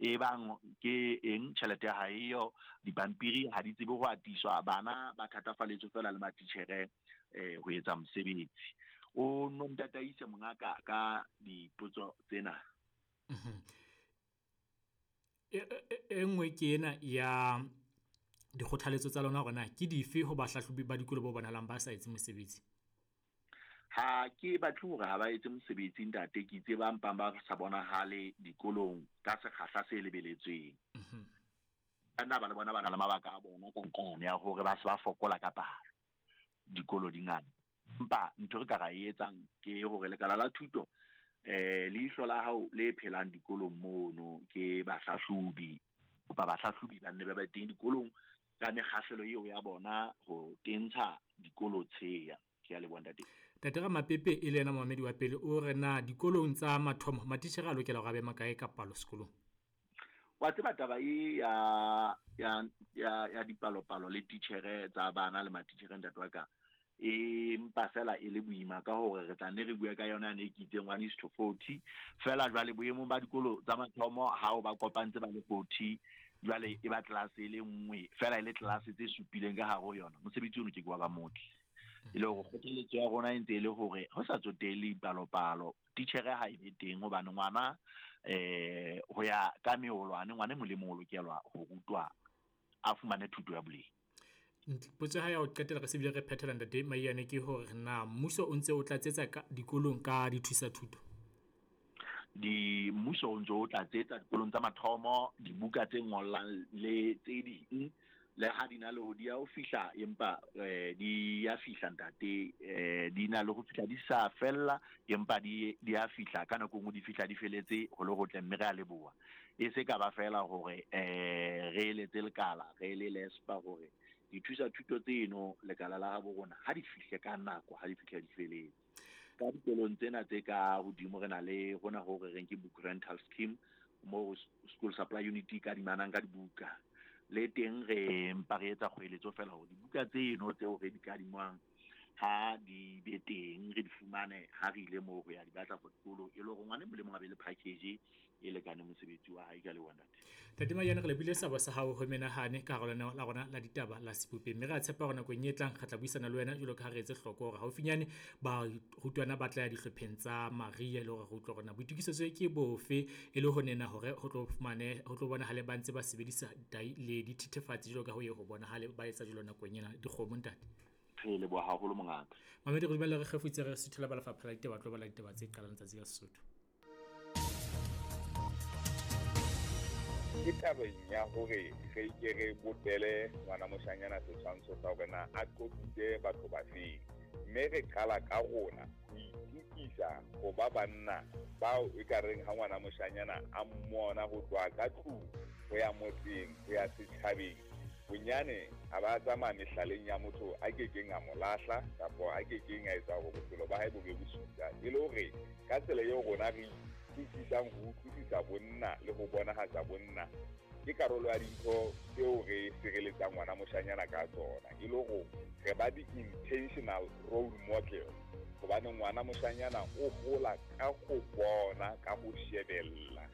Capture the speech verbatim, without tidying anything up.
E bang ke eng tjhelete ya hae yo dipampiri ha di tsebe ho atiswa, bana ba thatafalletswe fela le matitjhere eh ho etsa mosebetsi. O no ntataise mongaka ka dipotso tsena. E, e, e nngwe ke ena ya dikgothaletso tsa lona hore na ke dife ho bahlahlobi ba dikolo bo bonahalang ba sa etse mosebetsi? Ha ke batle hore ha ba etse mosebetsi ntate, ke itse ba mpang ba sa bonahale dikolong ka sekgahla se lebeletsweng. Nna ba le bona ba na le mabaka a bona ka nqane ya hore ba se ba fokola ka palo dikolo di ngata. Empa ntho re ka ra e etsang ke hore lekala la thuto eh leihlo la hao le phelang dikolong mono ke bahlahlobi, kopa bahlahlobi ba nne ba ba teng dikolong ka mekgahlelo eo ya bona ho tentsha dikolo tsheya. Ke a leboha ntate. Ntate Ramapepe e le yena momamedi wa pele o re na dikolong tsa mathomo matitjhere a lokela hore a be makae ka palo sekolong? Wa tseba taba e ya ya ya ya dipalopalo le titjhere tsa bana le matitjhere ntate wa ka e mpa fela e le boima ka hore re tla nne re bue ka yona ne ke itseng one is to forty fela. Jwale boemong ba dikolo tsa mathomo ha o ba kopantse ba le forty, jwale e ba class e le nngwe fela e le class tse supileng ka hare ho yona, mosebetsi ono ke ke wa ba motle. E le hore kgothaletso ya rona e ntse e le hore ho sa tsotelle dipalopalo titjhere ha e be teng, hobane ngwana eh ho ya ka meholwane ngwana e mong le mong o lokelwa ho rutwa a fumane thuto ya boleng. Potso ya ho qetela re se bile re phethela ntate Maiyane ke hore na mmuso o ntse o tlatsetsa ka dikolong ka dithusa thuto? Di mmuso o ntse o tlatsetsa dikolong tsa mathomo dibuka tse ngollang le tse ding, le ha di na le ho di ya ho fihla, empa eh di ya fihla ntate, eh di na le ho fihla di sa fella, empa di di ya fihla ka nako nngwe di fihla di feletse ho le hotle, mme re a leboha. E se ka ba fela hore eh re eletse lekala re le lespa hore dithusa thuto tseno lekala la habo rona ha di fihle ka nako, ha di fihle di feletse. Ka dikolong tsena tse ka hodimo re na le hona ho re reng ke book rental scheme, mo school supply unit ka dimanang ka dibuka. Le teng re mpa re etsa kgoeletso fela hore dibuka tseno tseo re di kadimang ha di be teng re di fumane ha re ile moo ho ya di batla for dikolo, e le hore ngwana e mong le mong a be le package e lekaneng mosebetsi wa hae. Ka leboha ntate. Ntate Maiyane, re lebile sabo sa hao ho menahane ka hara lenaneo la rona la ditaba la Sebopeng, mme re a tshepa hore nakong e tlang re tla buisana le wena jwalo ka ha re etse hloko hore haufinyane barutwana ba tla ya dihlopheng tsa Maria, e le hore re utlwe hore na boitokisetso ke bofe e le ho nena hore ho tlo fumane ho tlo bonahale ba ntse ba sebedisa dai le dithethefatsi jwalo ka ho ye ho bonahale ba etsa jwalo nakong ena dikgomo ntate. Re leboha haholo mongaka. Mamedi, re dumela re kgefutse re suthela ba lefapha la ditaba, tlo bala ditaba tse qalang tsatsi la Sesotho. Ke tabeng ya hore re ke re bopele ngwana moshanyana setshwantsho sa hore na a qoqitse batho ba feng, mme re qala ka rona ho itukisa ho ba banna bao e ka reng ha ngwana moshanyana a mmona ho tloha ka tlung ho ya motseng ho ya setjhabeng, bonyane a ba tsamaya mehlaleng ya motho a kekeng a mo lahla kapa a kekeng a etsa hore bophelo ba hae bo be bosula. E le hore ka tsela eo rona re itukisang ho utlwisisa bonna le ho bonahatsa bonna ke karolo ya dintho tseo re sireletsang ngwana moshanyana ka tsona, e le hore re ba di-intentional role model, hobane ngwana moshanyana o hola ka ho bona, ka ho shebella.